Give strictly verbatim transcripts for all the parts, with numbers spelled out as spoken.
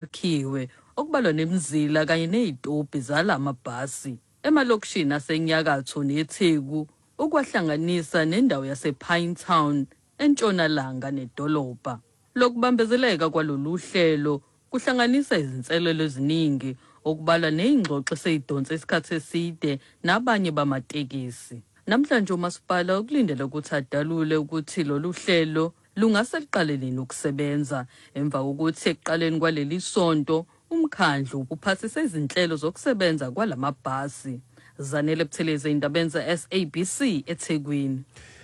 Akhiwe okubalwa nemizila kanye nezitobhi zalamabhasi emalokishini asenyakatho neTheku, ukwahlanganisa nendawo yasePinetown entshonalanga nedolobha. Lokubambezeleka kwalolu hlelo kuhlanganisa izinselelo eziningi, okubalwa nezingxoxo eseyidonse isikhathi eside nabanye bamatekisi. Namhlanje umasipala ukulindele ukuthi adalule ukuthi lolu hlelo lungase luqale nini ukusebenza, emva kokuthi ekuqaleni kwaleli sonto umkhandlu uphasise izinhlelo zokusebenza kwalamabhasi. Zanele Buthelezi, indabeni ze-S A B C, eThekwini.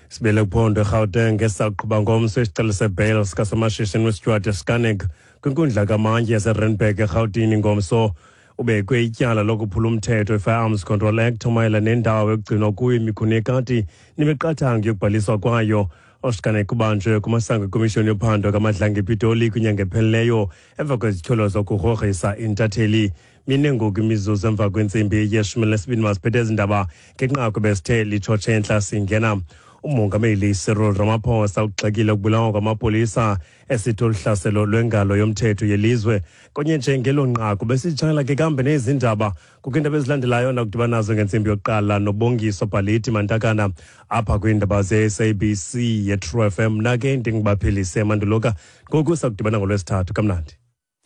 Sibele kuphondo eGauteng, esaqhuba ngomso isicelo sebail sikasomashishini uStuart Scharnick kwinkundla kamantyi yaseRandburg eRhawutini. Ngomso ubekwe ityala lokuphula umthetho i-Firearms Control Act mayelana nendawo ekugcinwa kuyo imikhuni yekati nemiqathango yokubhaliswa kwayo. UScharnick ubanjwe kumasango ekomishoni yophando kaMadlanga ePitoli kwinyanga ephelileyo emva kwezityholo zokugrogrisa intatheli. Mine ngoku imizuzu emva kwentsimbi yeshumi lesibini. Masiphethe ezi ndaba ngenqaku besithe litshotshe entla singena. Umongameli Cyril Ramaphosa ugxekile ukubulawa kwamapolisa, esithi oluhlaselo lwengalo yomthetho yelizwe. Konye nje ngelo nqaku besitshayela ke kambe nezi ndaba. Kukho iindaba ezilandelayo nakudibana nazo ngentsimbi yokuqala noBongiso Bhaliti Mantakana apha kwiindaba ze-S A B C ye-True F M. Mna ke ndingubaphelise Manduluka. Ngoku sakudibana ngolwesithathu. Kamnandi.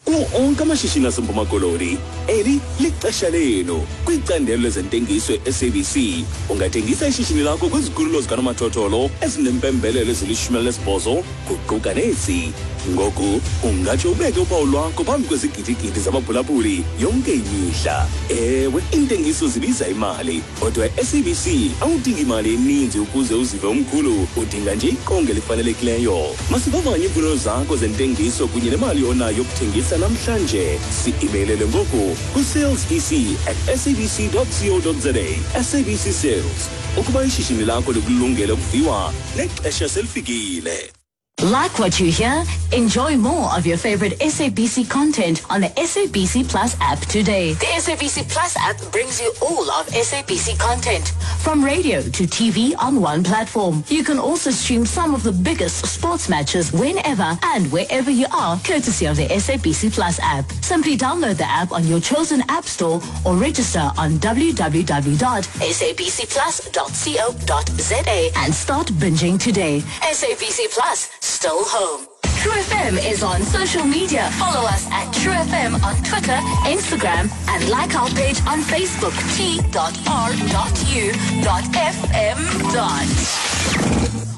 Kuwo onke amashishini aseMpuma Koloni, eli lixesha lenu kwicandelo lezentengiso e-S A B C. Ungathengisa ishishini lakho kwizikhululo zikanomathotholo ezinempembelelo ezilishumi elinesibhozo, kuquka nezi. Ngoku ungatsho ubeke uphawu lwakho phambi kwezigidigidi zabaphulaphuli yonke imihla. Ewe, iintengiso zibiza imali, kodwa e-S A B C awudingi imali eninzi ukuze uzive umkhulu, udinga nje iqonga elifanelekileyo. Masivavanye iimfuno zakho zentengiso kunye nemali onayo yokuthengisa namhlanje. Si-imeylele ngoku kwi-sales E C at sabc co za. S A B C Sales, ukuba ishishini lakho likulungele ukuviwa, nexesha selifikile. Like what you hear? Enjoy more of your favorite S A B C content on the S A B C Plus app today. The S A B C Plus app brings you all of S A B C content, from radio to T V, on one platform. You can also stream some of the biggest sports matches whenever and wherever you are, courtesy of the S A B C Plus app. Simply download the app on your chosen app store or register on w w w dot sabcplus dot co dot za and start binging today. S A B C Plus, still home. True F M is on social media. Follow us at True F M on Twitter, Instagram, and like our page on Facebook, t dot r dot u dot f m dot.